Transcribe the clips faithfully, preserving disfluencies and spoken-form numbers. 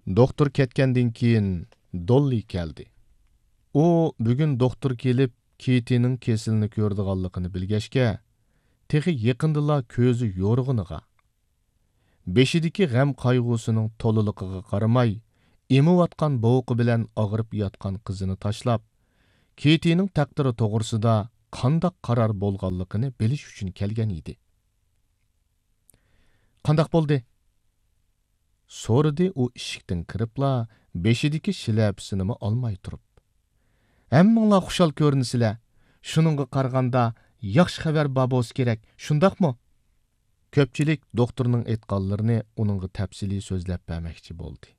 دوختۇر كەتكەندىن كېيىن، دوللى كەلدى. ئۇ بۈگۈن دوختۇر كېلىپ، كىتىنىڭ كېسىلىنى كۆرىدىغانلىقىنى بىلگەچكە، تېخى يېقىندىلا كۆزى يورۇغىنىغا، بېشىدىكى غەم-قايغۇسىنىڭ تولىلىقىغا قارىماي، ئېمىۋاتقان بوۋىقى بىلەن ئاغرىپ ياتقان قىزىنى تاشلاپ، كىتىنىڭ تەقدىرى توغرىسىدا قانداق قارار بولغانلىقىنى بىلىش ئۈچۈن كەلگەن ئىدى. «قانداق بولدى؟» سورىدى ئۇ ئىشىكتىن كىرىپلا، بېشىدىكى شىلەپىسىنىمۇ ئالماي تۇرۇپ. «ھەممىڭلار خۇشال كۆرۈنىسىلەر. شۇنىڭغا قارىغاندا، ياخشى خەۋەر بار بولسا كېرەك، شۇنداقمۇ؟» كۆپچىلىك دوختۇرنىڭ ئېيتقانلىرىنى ئۇنىڭغا تەپسىلىي سۆزلەپ بەرمەكچى بولدى.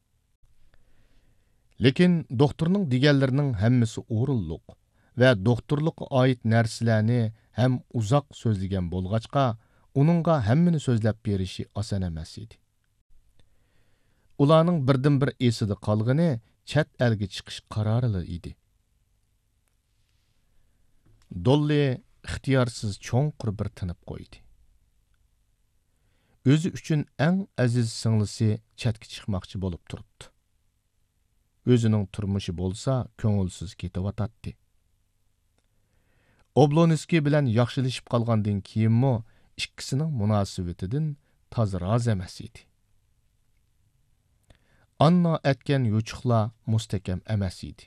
لېكىن دوختۇرنىڭ دېگەنلىرىنىڭ ھەممىسى ئورۇنلۇق ۋە دوختۇرلۇققا ئائىت نەرسىلەرنى ھەم ئۇزاق سۆزلىگەن بولغاچقا، ئۇنىڭغا ھەممىنى سۆزلەپ بېرىشى ئاسان ئەمەس ئىدى. ئۇلارنىڭ بىردىنبىر ئېسىدە قالغىنى چەت ئەلگە چىقىش قارارىلا ئىدى. دوللى ئىختىيارسىز چوڭقۇر بىر تىنىپ قويدى. ئۆزى ئۈچۈن ئەڭ ئەزىز سىڭلىسى چەتكە چىقماقچى بولۇپ تۇرۇپتۇ. ئۆزىنىڭ تۇرمۇشى بولسا كۆڭۈلسىز كېتىۋاتاتتى. ئوبلونسكىي بىلەن ياخشىلىشىپ قالغاندىن كېيىنمۇ ئىككىسىنىڭ مۇناسىۋىتىدىن تازا رازى ئەمەس ئىدى. ئاننا ئەتكەن يوچۇقلار مۇستەھكەم ئەمەس ئىدى.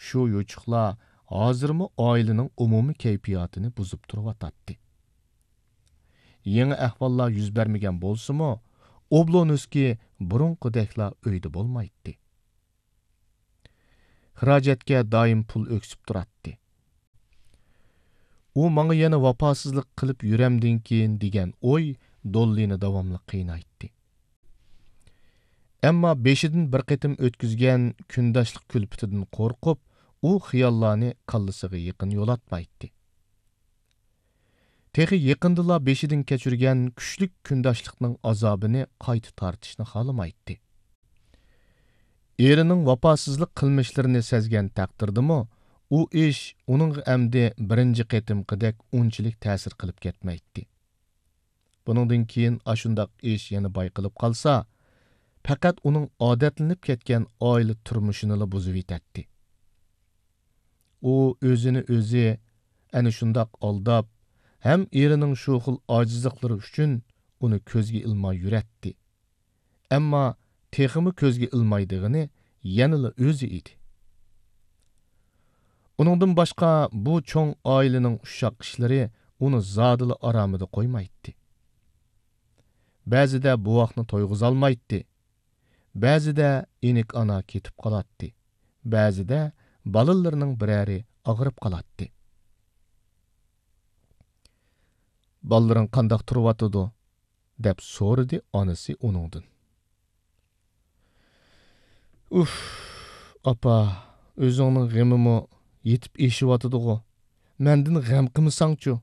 شۇ يوچۇقلار ھازىرمۇ ئائىلىنىڭ ئومۇمىي كەيپىياتىنى بۇزۇپ تۇرۇۋاتاتتى. يېڭى ئەھۋاللار يۈز بەرمىگەن بولسىمۇ، ئوبلونسكىي بۇرۇنقىدەكلا ئۆيدە بولمايتتى. خىراجەتكە دائىم پۇل ئۆكسۈپ تۇراتتى. «ئۇ ماڭا يەنە ۋاپاسىزلىق قىلىپ يۈرەمدىن كېيىن» دېگەن ئوي دوللىنى داۋاملىق قىينايتتى. ئەمما بېشىدىن بىر قېتىم ئۆتكۈزگەن كۈنداشلىق كۈلپىتىدىن قورقۇپ، ئۇ خىياللارنى كاللىسىغا يېقىن يولاتمايتتى. تېخى يېقىندىلا بېشىدىن كەچۈرگەن كۈچلۈك كۈنداشلىقنىڭ ئازابىنى قايتا تارتىشنى خالىمايتتى. ئېرىنىڭ ۋاپاسىزلىق قىلمىشلىرىنى سەزگەن تەقدىردىمۇ، ئۇ ئىش ئۇنىڭغا ئەمدى بىرىنچى قېتىمقىدەك ئۇنچىلىك تەسىر قىلىپ كەتمەيتتى. بۇنىڭدىن كېيىن ئاشۇنداق ئىش يەنە بايقىلىپ قالسا، پەقەت ئۇنىڭ ئادەتلىنىپ كەتكەن ئائىلە تۇرمۇشىنىلا بۇزۇۋېتەتتى. ئۇ ئۆزىنى ئۆزى ئەنە شۇنداق ئالداپ، ھەم ئېرىنىڭ شۇ خىل ئاجىزلىقلىرى ئۈچۈن ئۇنى كۆزگە ئىلماي يۈرەتتى. ئەمما تېخىمۇ كۆزگە ئىلمايدىغىنى يەنىلا ئۆزى ئىدى. ئۇنىڭدىن باشقا بۇ چوڭ ئائىلىنىڭ ئۇششاق ئىشلىرى ئۇنى زادىلا ئارامىدا قويمايتتى. بەزىدە بوۋاقنى تويغۇزالمايتتى. بەزىدە ئىنىك ئانا كېتىپ قالاتتى. بەزىدە بالىلىرىنىڭ بىرەرى ئاغرىپ قالاتتى. «بالىلىرىڭ قانداق تۇرۇۋاتىدۇ؟» دەپ سورىدى ئانىسى ئۇنىڭدىن. «ئۇف، ئاپا، ئۆزۈڭنىڭ غېمىمۇ يېتىپ ئېشىۋاتىدىغۇ. مەندىن غەم قىلمىساڭچۇ؟»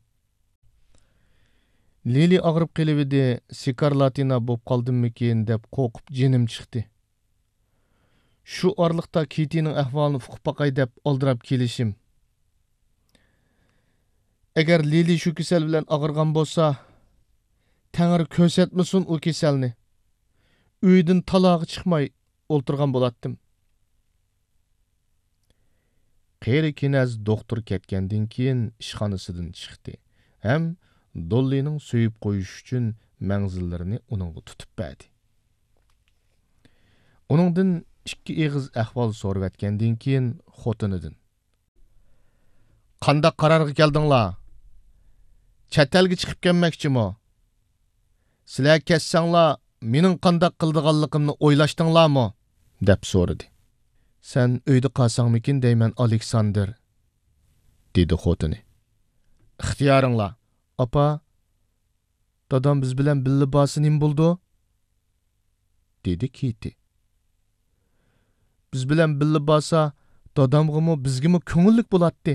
«لىلى ئاغرىپ قېلىۋىدى، سىكارلاتىنا بوپ قالدىممىكىن دەپ قورقۇپ جېنىم چىقتى. شۇ ئارىلىقتا كىتىنىڭ ئەھۋالىنى ئۇقۇپ باقاي دەپ ئالدىراپ كېلىشىم. ئەگەر لىلى شۇ كېسەل بىلەن ئاغرىغان بولسا، تەڭرى كۆرسەتمىسۇن ئۇ كېسەلنى. ئۆيدىن تالاغا چىقماي ئولتۇرغان بولاتتىم.» قېرى كېنەز دوختۇر كەتكەندىن كېيىن ئىشخانىسىدىن چىقتى ھەم دوللىنىڭ سۆيۈپ قويۇش ئۈچۈن مەڭزىلىرىنى ئۇنىڭغا تۇتۇپ بەردى. ئۇنىڭدىن ئىككى ئېغىز ئەھۋال سورىۋەتكەندىن كېيىن خوتۇنىدىن: «قانداق قارارغا كەلدىڭلار؟ چەت ئەلگە چىقىپ كەلمەكچىمۇ؟ سىلەر كەتسەڭلار، مېنىڭ قانداق قىلىدىغانلىقىمنى ئويلاشتىڭلارمۇ؟» دەپ سورىدى. «سەن ئۆيدە قالساڭمىكىن دەيمەن، ئالېكساندىر»، دېدى خوتۇنى. «ئىختىيارىڭلار.» «ئاپا، دادام بىز بىلەن بىللە بارسا نېمە بولىدۇ؟» دېدى كىتى. «بىز بىلەن بىللە بارسا، دادامغىمۇ، بىزگىمۇ كۆڭۈللۈك بولاتتى.»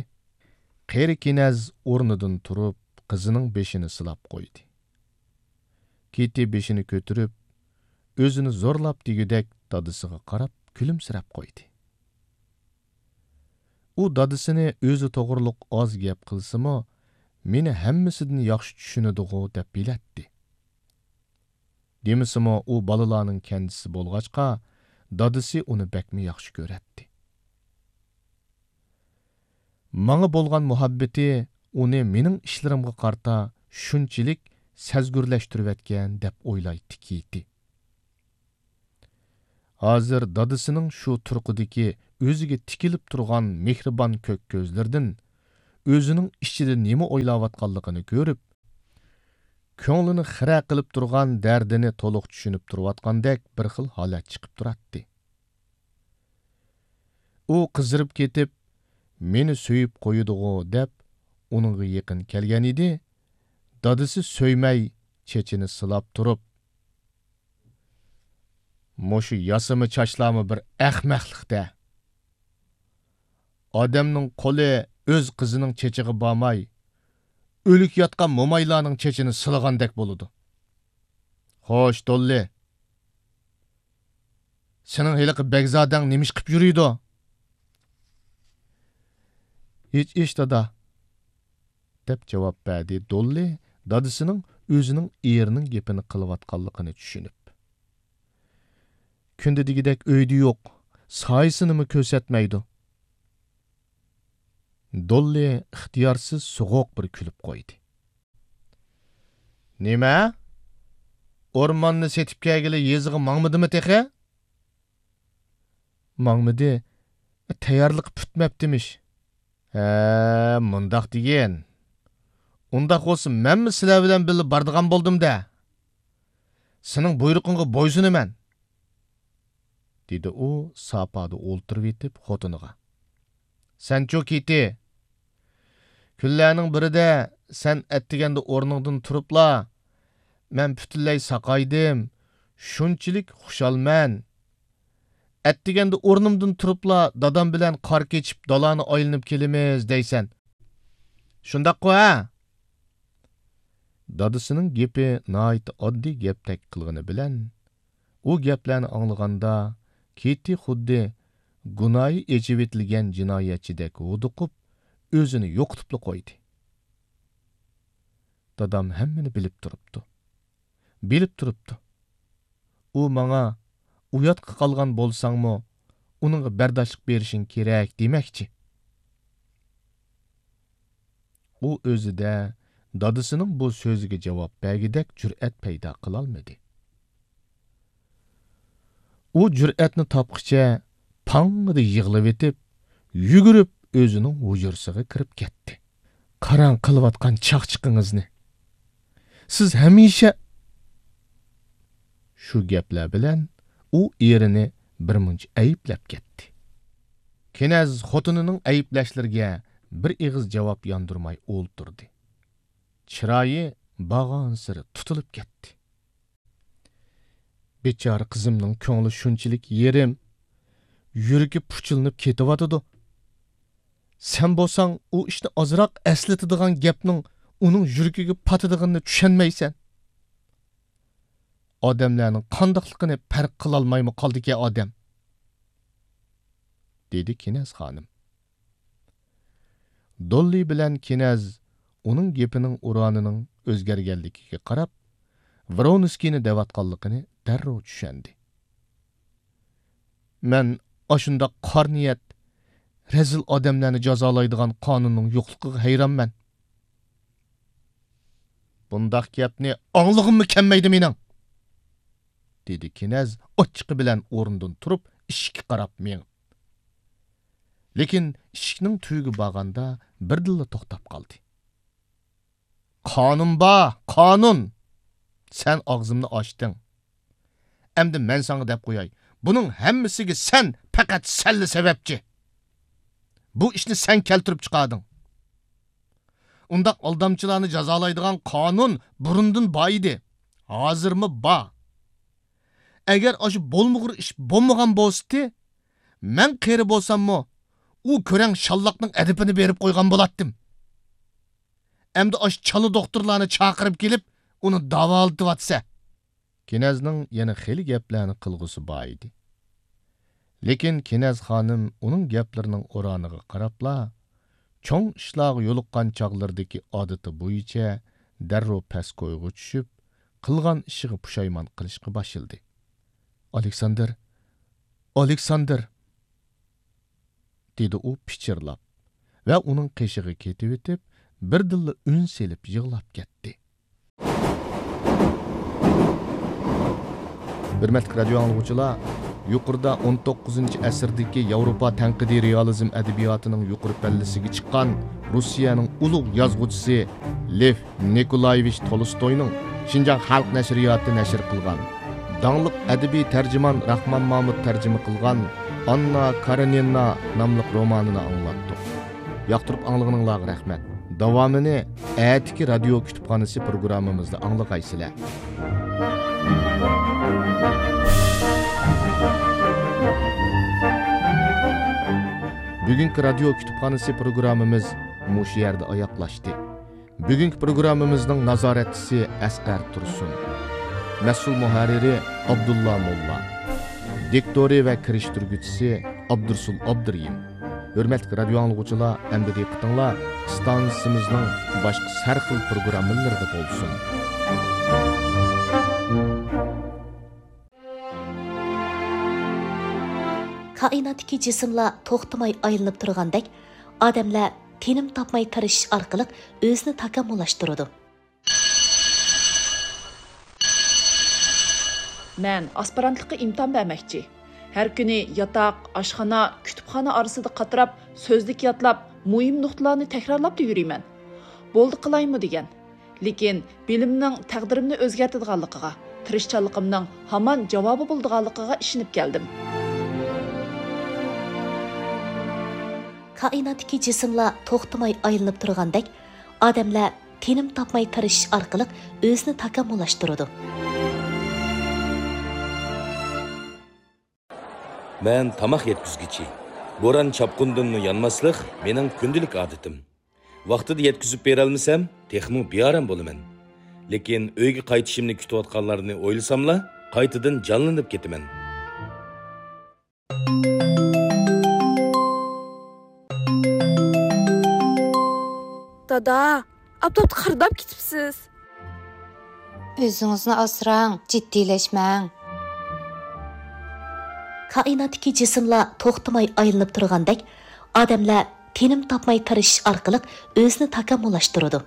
قېرى كېنەز ئورنىدىن تۇرۇپ، قىزىنىڭ بېشىنى سىلاپ قويدى. كىتى بېشىنى كۆتۈرۈپ، ئۆزىنى زورلاپ دېگۈدەك دادىسىغا قاراپ كۈلۈمسىرەپ قويدى. ئۇ دادىسىنى ئۆزى توغرۇلۇق ئاز گەپ قىلسىمۇ، مېنى ھەممىسىدىن ياخشى چۈشىنىدىغۇ دەپ بىلەتتى. دېمىسىمۇ، ئۇ بالىلارنىڭ كەنجىسى بولغاچقا، دادىسى ئۇنى بەكمۇ ياخشى كۆرەتتى. ماڭا بولغان مۇھەببىتى ئۇنى مېنىڭ ئىشلىرىمغا قارىتا شۇنچىلىك سەزگۈرلەشتۈرۈۋەتكەن دەپ ئويلايتتى كېيتى. ھازىر دادىسىنىڭ شۇ تۇرقىدىكى ئۆزىگە تىكىلىپ تۇرغان مېھرىبان كۆك كۆزلىرىدىن ئۆزىنىڭ ئىچىدە نېمە ئويلاۋاتقانلىقىنى كۆرۈپ، كۆڭلىنى خىرە قىلىپ تۇرغان دەردىنى تولۇق چۈشىنىپ تۇرۇۋاتقاندەك بىر خىل ھالەت چىقىپ تۇراتتى. ئۇ قىزىرىپ كېتىپ، «مېنى سۆيۈپ قويىدىغۇ» دەپ، ئۇنىڭغا يېقىن كەلگەن ئىدى. دادىسى سۆيمەي، چېچىنى سىلاپ تۇرۇپ، «مۇشۇ ياسىما چاچلارمۇ بىر ئەخمەقلىق-دە! ئادەمنىڭ قولى ئۆز قىزىنىڭ چېچىغا بارماي، ئۆلۈك ياتقان مومايلارنىڭ چېچىنى سىلىغاندەك بولىدۇ. خوش، دوللى! سېنىڭ ھېلىقى بەگزادەڭ نېمە ئىش قىپ يۈرىدۇ؟» «ھېچ ئىش، دادا» دەپ جاۋاب بەردى دوللى، دادىسىنىڭ ئۆزىنىڭ ئېرىنىڭ گېپىنى قىلىۋاتقانلىقىنى چۈشىنىپ. «كۈندە دېگۈدەك ئۆيدە يوق، سايىسىنىمۇ كۆرسەتمەيدۇ.» دوللى ئىختىيارسىز سوغۇق بىر كۈلۈپ قويدى. «نېمە؟ ئورماننى سېتىپ كەلگىلى يېزىغا ماڭمىدىمۇ تېخى؟» «ماڭمىدى، تەييارلىقى پۈتمەپتىمىش.» «ھە، مۇنداق دېگىن. ئۇنداق بولسا مەنمۇ سىلەر بىلەن بىللە بارىدىغان بولدۇم-دە. سېنىڭ بۇيرۇقۇڭغا بويسۇنىمەن.» دېدى ئۇ ساپادا ئولتۇرۇۋېتىپ خوتۇنىغا. «سەنچۇ كېتى، كۈنلەرنىڭ بىرىدە سەن ئەتىگەندە ئورنۇڭدىن تۇرۇپلا، مەن پۈتۈنلەي ساقايدىم، شۇنچىلىك خۇشالمەن. ئەتىگەندە ئورنۇمدىن تۇرۇپلا دادام بىلەن قار كېچىپ دالانى ئايلىنىپ كېلىمىز دەيسەن. شۇنداققۇ، ھە؟» دادىسىنىڭ گېپى ناھايىتى ئاددىي گەپتەك قىلغىنى بىلەن، ئۇ گەپلەرنى ئاڭلىغاندا، كېتى خۇددى گۇناھى ئېچىۋېتىلگەن جىنايەتچىدەك ھودۇقۇپ، ئۆزىنى يوقىتىپلا قويدى. دادام ھەممىنى بىلىپ تۇرۇپتۇ. بىلىپ تۇرۇپتۇ. ئۇ ماڭا، «ئۇياتقا قالغان بولساڭمۇ، ئۇنىڭغا بەرداشلىق بېرىشىڭ كېرەك» دېمەكچى. ئۇ ئۆزىدە دادىسىنىڭ بۇ سۆزىگە جاۋاب بەرگۈدەك جۈرئەت پەيدا قىلالمىدى. ئۇ جۈرئەتنى تاپقىچە پاڭڭىدە يىغلىۋېتىپ، يۈگۈرۈپ ئۆزىنىڭ ھۇجرىسىغا كىرىپ كەتتى. «قاراڭ قىلىۋاتقان چاقچىقىڭىزنى! سىز ھەمىشە...» شۇ گەپلەر بىلەن ئۇ ئېرىنى بىرمۇنچە ئەيىبلەپ كەتتى. كېنەز خوتۇنىنىڭ ئەيىبلەشلىرىگە بىر ئېغىز جاۋاب ياندۇرماي ئولتۇردى. چىرايى بارغانسېرى تۇتۇلۇپ كەتتى. «بىچارە قىزىمنىڭ كۆڭلى شۇنچىلىك يېرىم، يۈرىكى پۇچىلىنىپ كېتىۋاتىدۇ. سەن بولساڭ ئۇ ئىشنى ئازراق ئەسلىتىدىغان گەپنىڭ ئۇنىڭ يۈرىكىگە پاتىدىغىنىنى چۈشەنمەيسەن. ئادەملەرنىڭ قانداقلىقىنى پەرق قىلالمايمۇ قالدىكەن ئادەم؟» دېدى كېنەز خانىم. دوللى بىلەن كېنەز ئۇنىڭ گېپىنىڭ ئۇرانىنىڭ ئۆزگەرگەنلىكىگە قاراپ، ۋرونسكىينى دەۋاتقانلىقىنى دەررۇ چۈشەندى. «مەن ئاشۇنداق قارا نىيەت، رەزىل ئادەملەرنى جازالايدىغان قانۇننىڭ يوقلۇقىغا ھەيرانمەن.» «بۇنداق گەپنى ئاڭلىغۇممۇ كەلمەيدۇ مېنىڭ!» دېدى كېنەز ئاچچىقى بىلەن ئورنىدىن تۇرۇپ، ئىشىككە قاراپ مېڭىپ. لېكىن ئىشىكنىڭ تۈۋىگە بارغاندا بىردىنلا توختاپ قالدى. «قانۇن بار، قانۇن! سەن ئاغزىمنى ئاچتىڭ. ئەمدى مەن ساڭا دەپ قوياي، بۇنىڭ ھەممىسىگە سەن، پەقەت سەنلا سەۋەبچى. بۇ ئىشنى سەن كەلتۈرۈپ چىقاردىڭ. ئۇنداق ئالدامچىلارنى جازالايدىغان قانۇن بۇرۇندىن بار ئىدى، ھازىرمۇ بار. ئەگەر ئاشۇ بولمىغۇر ئىش بولمىغان بولسىتى، مەن قېرى بولساممۇ، ئۇ كۆرەڭ شاللاقنىڭ ئەدىپىنى بېرىپ قويغان بولاتتىم. ئەمدى ئاشۇ چالا دوختۇرلارنى چاقىرىپ كېلىپ، ئۇنى داۋالىتىۋاتىسەن.» كېنەزنىڭ يەنە خېلى گەپلەرنى قىلغۇسى بار ئىدى. لېكىن كېنەز خانىم ئۇنىڭ گەپلىرىنىڭ ئورانىغا قاراپلا، چوڭ ئىشلارغا يولۇققان چاغلىرىدىكى ئادىتى بويىچە دەررۇ پەس كويغا چۈشۈپ، قىلغان ئىشىغا پۇشايمان قىلىشقا باشلىدى. «ئالېكساندىر، ئالېكساندىر!» دېدى ئۇ پىچىرلاپ ۋە ئۇنىڭ قېشىغا كېتىۋېتىپ، بىردىنلا ئۈن سېلىپ يىغلاپ كەتتى. ھۆرمەتلىك رادىيو ئاڭلىغۇچىلار، يۇقىرىدا ئون توققۇزىنچى ئەسىردىكى ياۋروپا تەنقىدىي رېئالىزم ئەدەبىياتىنىڭ يۇقىرى پەللىسىگە چىققان روسىيەنىڭ ئۇلۇغ يازغۇچىسى لېف نىكولايېۋىچ تولستوينىڭ شىنجاڭ خەلق نەشرىياتى نەشر قىلغان، داڭلىق ئەدەبىي تەرجىمان راخمان مامۇت تەرجىمە قىلغان ئاننا كارېنىنا ناملىق رومانىنى ئاڭلاتتۇق. ياقتۇرۇپ ئاڭلىغىنىڭلارغا رەھمەت. داۋامىنى ئەتىكى رادىيو كۇتۇپخانىسى پروگراممىمىزدا ئاڭلىغايسىلەر. بۈگۈنكى رادىيو كۇتۇپخانىسى پروگراممىمىز مۇشۇ يەردە ئاياغلاشتى. بۈگۈنكى پروگراممىمىزنىڭ نازارەتچىسى ئەسقەر تۇرسۇن. مەسئۇل مۇھەررىرى ئابدۇللا موللا. دىكتورى ۋە كىرىشتۈرگۈچىسى ئابدۇرسۇل ئابدۇرېھىم. ھۆرمەتلىك رادىيو ئاڭلىغۇچىلار، ئەمدى دىققىتىڭلار ئىستانسىمىزنىڭ باشقا ھەر خىل پروگراممىلىرىدا بولسۇن. كائىناتتىكى جىسىملار توختىماي ئايلىنىپ تۇرغاندەك، ئادەملەر تىنىم تاپماي تىرىشىش ئارقىلىق ئۆزىنى تاكامۇللاشتۇرىدۇ. مەن ئاسپىرانتلىققا ئىمتىھان بەرمەكچى. ھەر كۈنى ياتاق، ئاشخانا، كۇتۇپخانا ئارىسىدا قاتراپ، سۆزلۈك يادلاپ، مۇھىم نۇقتىلارنى تەكرارلاپلا يۈرىمەن. بولدى قىلايمۇ دېگەن. لېكىن بىلىمنىڭ تەقدىرىمنى ئۆزگەرتىدىغانلىقىغا، تىرىشچانلىقىمنىڭ ھامان جاۋابى بولىدىغانلىقىغا ئىشىنىپ كەلدىم. كائىناتتىكى جىسىملار توختىماي ئايلىنىپ تۇرغاندەك، ئادەملەر تىنىم تاپماي تىرىشىش ئارقىلىق ئۆزىنى تاكامۇللاشتۇرىدۇ. مەن تاماق يەتكۈزگۈچى. بوران-چاپقۇندىنمۇ يانماسلىق مېنىڭ كۈندىلىك ئادىتىم. ۋاقتىدا يەتكۈزۈپ بېرەلمىسەم، تېخىمۇ بىئارام بولىمەن. لېكىن ئۆيگە قايتىشىمنى كۈتۈۋاتقانلارنى ئويلىساملا، قايتىدىن جانلىنىپ كېتىمەن. دادا، ئاپتاپتا قىرداپ كېتىپسىز. ئۆزىڭىزنى ئاسراڭ، جىددىيلەشمەڭ. كائىناتتىكى جىسىملار توختىماي ئايلىنىپ تۇرغاندەك، ئادەملەر تىنىم تاپماي تىرىشىش ئارقىلىق ئۆزىنى تاكامۇللاشتۇرىدۇ.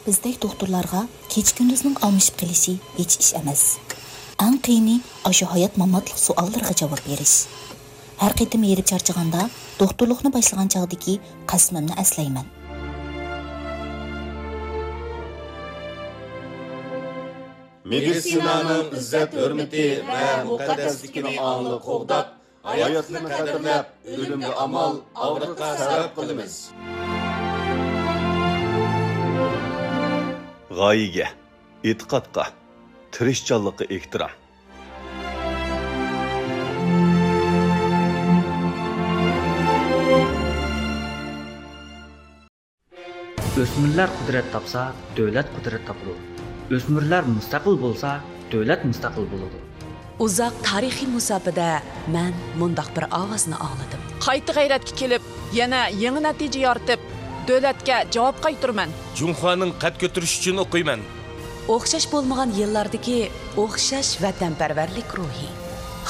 بىزدەك دوختۇرلارغا كېچە-كۈندۈزنىڭ ئالمىشىپ قېلىشى ھېچ ئىش ئەمەس. ئەڭ قىيىنى ئاشۇ ھايات-ماماتلىق سوئاللىرىغا جاۋاب بېرىش. ھەر قېتىم ھېرىپ چارچىغاندا، دوختۇرلۇقنى باشلىغان چاغدىكى قەسىمىمنى ئەسلەيمەن. مېدىتسىنانىڭ ئىززەت-ھۆرمىتى ۋە مۇقەددەسلىكىنى ئاڭلىق قوغداپ، ھاياتنى قەدىرلەپ، ئۆلۈمگە ئامال، ئاغرىققا سەۋەب قىلىمىز. غايىگە، ئېتىقادقا، تىرىشچانلىققا ئېھتىرام. ئۆسمۈرلەر قۇدرەت تاپسا، دۆلەت قۇدرەت تاپىدۇ. ئۆسمۈرلەر مۇستەقىل بولسا، دۆلەت مۇستەقىل بولىدۇ. ئۇزاق تارىخىي مۇساپىدە مەن مۇنداق بىر ئاۋازنى ئاڭلىدىم. قايتا غەيرەتكە كېلىپ، يەنە يېڭى نەتىجە يارىتىپ، دۆلەتكە جاۋاب قايتۇرىمەن. جۇڭخۇانىڭ قەد كۆتۈرۈشى ئۈچۈن ئوقۇيمەن. ئوخشاش بولمىغان يىللاردىكى ئوخشاش ۋەتەنپەرۋەرلىك روھى.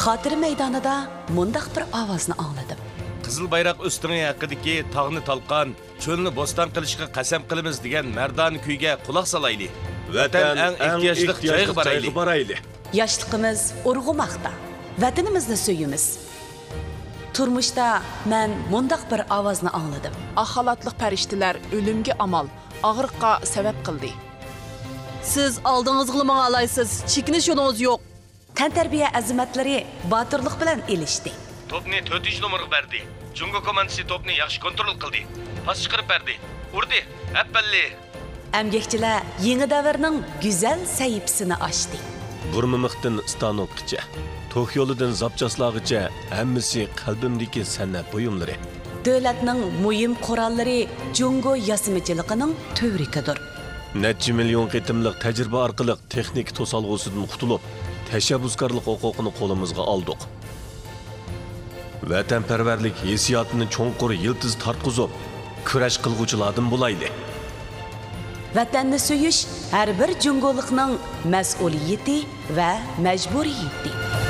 خاتىرە مەيدانىدا مۇنداق بىر ئاۋازنى ئاڭلىدىم. قىزىل بايراق ئۆستىڭى ھەققىدىكى تاغنى تالقان، چۆلنى بوستان قىلىشقا قەسەم قىلىمىز دېگەن مەردانە كۈيگە قۇلاق سالايلى. ۋەتەن ئەڭ ئېھتىياجلىق جايغا بارايلى. ياشلىقىمىز ئۇرغۇماقتا. ۋەتىنىمىزنى سۆيىمىز. تۇرمۇشتا مەن مۇنداق بىر ئاۋازنى ئاڭلىدىم. ئاق خالاتلىق پەرىشتىلەر ئۆلۈمگە ئامال، ئاغرىققا سەۋەب قىلدى. سىز ئالدىڭىزغىلا ماڭالايسىز، چېكىنىش يولىڭىز يوق. تەنتەربىيە ئەزىمەتلىرى باتۇرلۇق بىلەن ئېلىشتى. توپنى تۆتىنچى نومۇرغا بەردى. جۇڭگو كوماندىسى توپنى ياخشى كونترول قىلدى. پاس چىقىرىپ بەردى. ئۇردى. ئەپەللى! ئەمگەكچىلەر يېڭى دەۋرنىڭ گۈزەل سەھىپىسىنى ئاچتى. بۇرمىمىقتىن ستانوكقىچە، توك يولىدىن زاپچاسلارغىچە ھەممىسى قەلبىمدىكى سەنئەت بۇيۇملىرى. دۆلەتنىڭ مۇھىم قوراللىرى جۇڭگو ياسىمىچىلىقىنىڭ تۈۋرۈكىدۇر. نەچچە مىليون قېتىملىق تەجرىبە ئارقىلىق تېخنىكا توسالغۇسىدىن قۇتۇلۇپ، تەشەببۇسكارلىق ھوقۇقىنى قولىمىزغا ئالدۇق. ۋەتەنپەرۋەرلىك ھېسسىياتىنى چوڭقۇر يىلتىز تارتقۇزۇپ، كۈرەش قىلغۇچىلاردىن بولايلى. ۋەتەننى سۆيۈش ھەر بىر جۇڭگولۇقنىڭ مەسئۇلىيىتى ۋە مەجبۇرىيىتى.